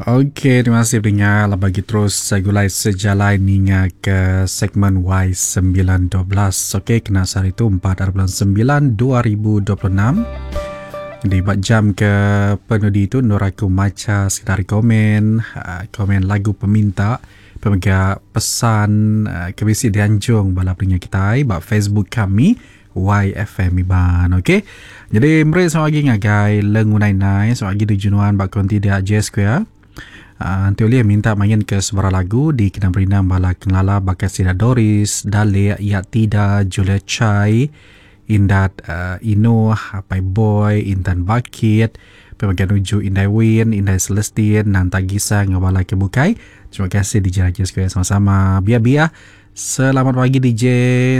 Okey, terima kasih pendengar lah bagi terus segulai sejalai ninga ke segmen Y912. Okey, kena sehari tu 4 bulan 9 2026. Di bak jam ke penudi tu nur aku maca sekedar komen, ah, komen lagu peminta, pemega pesan ah, ke bisi dianjung bala pendengar kitai ba Facebook kami YFM Iban ok. Jadi meri selamat pagi ngagai Leng Unai Nai selamat pagi tuju nuan ba konti dia J Square. Uh, enti ulih minta main ke sebarang lagu di kena berindang bala kenala baka sida Doris, Dalik, Yak Tida, Julia Chai, Indat uh, Inuh, Apai Boy, Intan Bakit, Pemakai nuju Indai Win, Indai Celestine, Nanta Gisa enggau bala ke bukai. Terima kasih DJ Raja Square sama-sama. Biar-biar Selamat pagi DJ.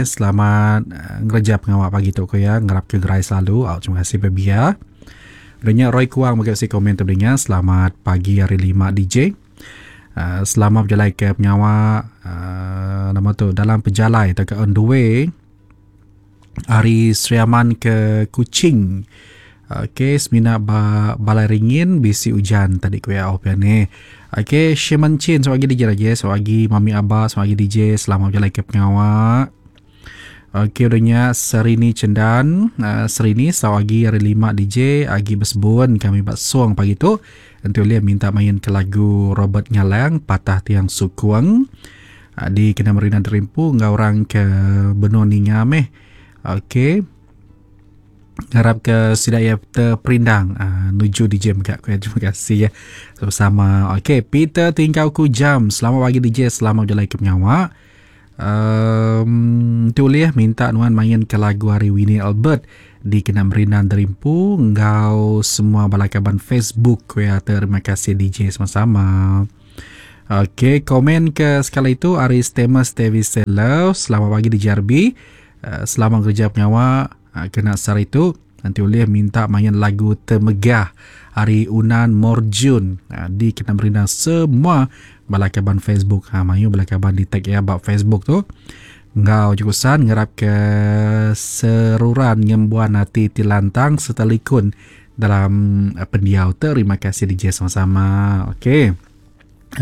Selamat eh, ngereja pengawa pagi tu ko ya. Ngarap ke gerai selalu. Au terima kasih baby ya. Udah Roy Kuang bagi si komen tu dengar. Selamat pagi hari lima DJ. Uh, eh, selamat berjalai ke pengawa uh, nama tu dalam pejalai atau ke on the way ari Sri Aman ke Kuching. Okey, semina ba Balai Ringin bisi ujan tadi ku iya oh pia ni. Okey, Sheman Chin selamat pagi DJ lagi. Selamat pagi Mami Aba, selamat pagi DJ. Selamat berjalai ke pengawa. Okey, udah nya Serini Chendan, uh, Serini selamat pagi hari lima DJ, agi besebun kami ba Song pagi tu. Enti ulih minta main ke lagu Robert Ngalang Patah Tiang Sukung. Di kena merina derimpu enggau orang ke benung ninga meh. Okey. Ngarap ke sida iya terperindang uh, nuju DJ mega ku terima kasih ya. Sama-sama. Okey, Peter Tingkau ku jam. Selamat pagi DJ, selamat berjalai ke pengawa. Um, tu ulih minta nuan main ke lagu hari Winnie Albert di kena merina derimpu enggau semua bala kaban Facebook ku ya. Terima kasih DJ sama-sama. Okey, komen ke sekali itu ari Stemus Davis Love. Selamat pagi di JRB. Eh, selamat kerja pengawa eh, kena sehari itu. Nanti ulih minta main lagu Temegah hari Unan Morjun eh, di kena merina semua bala kaban Facebook. Ha, mayu bala kaban di tag ya bab Facebook tu. Enggau jurusan ngerap ke seruran ngembuan hati ti lantang serta likun dalam pendiau. Terima kasih DJ sama-sama. Okey.